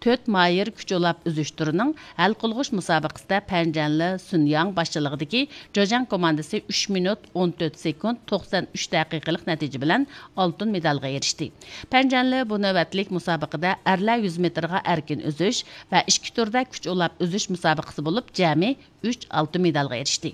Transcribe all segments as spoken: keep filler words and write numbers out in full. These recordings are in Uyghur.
تۆت ماھىر كۈچ ئۇلاپ ئۈزۈش تۈرىنىڭ ھەل قىلغۇچ مۇسابىقىسىدە پەنجەنلى سۈن ياڭ باشچىلىقىدىكى جېجياڭ كوماندىسى ئۈچ مىنۇت، ئون تۆت سېكۇنت، توقسەن ئۈچ دەقىقىلىق نەتىجە بىلەن ئالتۇن مېدالغا ئېرىشتى. پەنجەنلى بۇ نۆۋەتلىك مۇسابىقىدە ئەرلەر يۈز مېتىرغا ئەركىن ئۈزۈش ۋە ئىككى تۈردە كۈچ ئۇلاپ ئۈزۈش مۇسابىقىسى بولۇپ، جەمئىي ئۈچ ئالتۇن مېدالغا ئېرىشتى.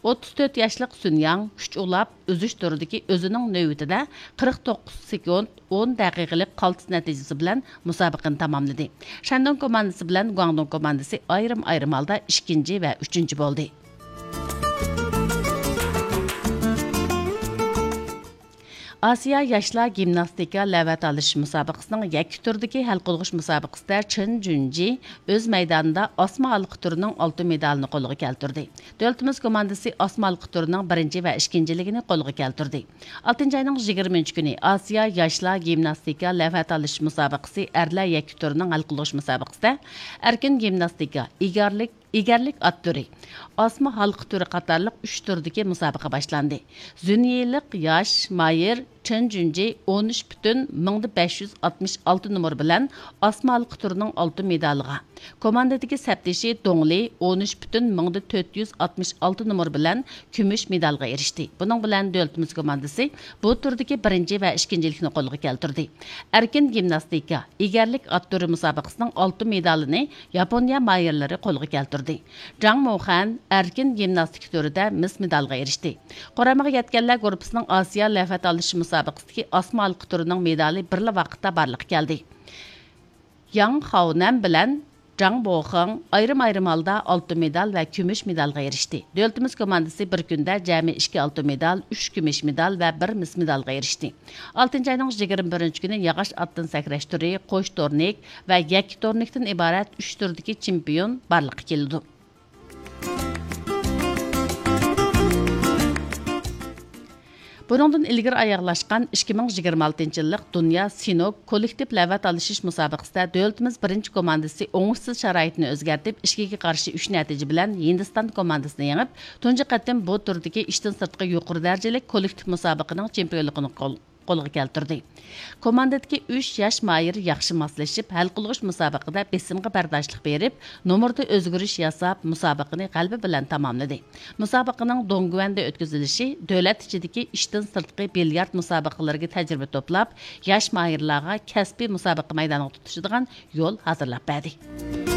ئوتتۇز تۆت ياشلىق سۈن ياڭ كۈچ ئۇلاپ ئۈزۈش تۈرىدىكى ئۆزىنىڭ نۆۋىتىدە قىرىق توققۇز سېكۇنت، ئون دەقىقىلىق قالتىس نەتىجىسى بىلەن مۇسابىقىنى تاماملىدى. شەندۇڭ كوماندىسى بىلەن گۇاڭدۇڭ كوماندىسى ئايرىم-ئايرىم ھالدا ئىككىنچى ۋە ئۈچىنچى بولدى. ئاسىيا ياشلار گىمناستىكا لەۋھە تالىشىش مۇسابىقىسىنىڭ يەككە تۈردىكى ھەل قىلغۇچ مۇسابىقىسىدە چېن جۈنجى ئۆز مەيدانىدا ئاسما ھالقا تۈرىنىڭ ئالتۇن مېدالىنى قولغا كەلتۈردى. دۆلىتىمىز كوماندىسى ئاسما ھالقا تۈرىنىڭ بىرىنچى ۋە ئىككىنچىلىكىنى قولغا كەلتۈردى. ئالتىنچى ئاينىڭ يىگىرمىنچى كۈنى ئاسىيا ياشلار گىمناستىكا لەۋھە تالىشىش مۇسابىقىسى ئەرلەر يەككە تۈرىنىڭ ھەل قىلغۇچ مۇسابىقىسىدە ئەركىن گىمناستىكا، ئېگەرلىك، ئېگەرلىك ئات تۈرى، ئاسما ھالقا تۈرى قاتارلىق ئۈچ تۈردىكى مۇسابىقە باشلاندى. زۈنيىلىق ياش ماھىر چېن جۈنجى ئون ئۈچ پۈتۈن مىڭدا بەش يۈز ئاتمىش ئالتە نومۇر بىلەن ئاسما ھالقا تۈرىنىڭ ئالتۇن مېدالىغا، كوماندىدىكى سەپدىشى دۇڭلى ئون ئۈچ پۈتۈن مىڭدا تۆت يۈز ئاتمىش ئالتە نومۇر بىلەن كۈمۈش مېدالغا ئېرىشتى. بۇنىڭ بىلەن دۆلىتىمىز كوماندىسى بۇ تۈردىكى بىرىنچى ۋە ئىككىنچىلىكنى قولغا كەلتۈردى. ئەركىن گىمناستىكا، ئېگەرلىك ئات تۈرى مۇسابىقىسىنىڭ ئالتۇن مېدالىنى ياپونىيە ماھىرلىرى قولغا كەلتۈردى. جاڭ موخەن ئەركىن گىمناستىكا تۈرىدە مىس مېدالغا ئېرىشتى. قۇرامىغا يەتكەنلەر گۇرۇپپىسىنىڭ ئاسىيا لەۋھە تالىشىش مۇسابىقىسىدىكى ئاسما ھالقا تۈرىنىڭ مېدالى بىرلا ۋاقىتتا بارلىققا كەلدى. ياڭ خاۋنەن بىلەن جاڭ بوخېڭ ئايرىم-ئايرىم ھالدا ئالتۇن مېدال ۋە كۈمۈش مېدالغا ئېرىشتى. دۆلىتىمىز كوماندىسى بىر كۈندە جەمئىي ئىككى ئالتۇن مېدال، ئۈچ كۈمۈش مېدال ۋە بىر مىس مېدالغا ئېرىشتى. ئالتىنچى ئاينىڭ يىگىرمە بىرىنچى كۈنى ياغاچ ئاتتىن سەكرەش تۈرى، قوش تورنىك ۋە يەككە تورنىكتىن ئىبارەت ئۈچ تۈردىكى چېمپىيون بارلىققا كېلىدۇ. بۇنىڭدىن ئىلگىرى ئاياغلاشقان ئىككى مىڭ يىگىرمە ئالتىنچى يىللىق دۇنيا سىنوك كوللېكتىپ لەۋھە تالىشىش مۇسابىقىسىدە دۆلىتىمىز بىرىنچى كوماندىسى ئوڭۇشسىز شارائىتنى ئۆزگەرتىپ، ئىككىگە قارشى ئۈچ نەتىجە بىلەن ھىندىستان كوماندىسىنى يېڭىپ، تۇنجى قېتىم بۇ تۈردىكى ئىشتىن سىرتقى يۇقىرى دەرىجىلىك كوللېكتىپ مۇسابىقىنىڭ چېمپىيونلۇقىنى قول-، قولغا كەلتۈردى. كوماندىدىكى ئۈچ ياش ماھىر ياخشى ماسلىشىپ، ھەل قىلغۇچ مۇسابىقىدە بېسىمغا بەرداشلىق بېرىپ، نومۇردا ئۆزگىرىش ياساپ، مۇسابىقىنى غەلىبە بىلەن تاماملىدى. مۇسابىقىنىڭ دوڭگۈەندە ئۆتكۈزۈلۈشى دۆلەت ئىچىدىكى ئىشتىن سىرتقى بىليارد مۇسابىقىلىرىگە تەجرىبە توپلاپ، ياش ماھىرلارغا كەسپىي مۇسابىقە مەيدانىغا تۇتىشىدىغان يول ھازىرلاپ بەردى.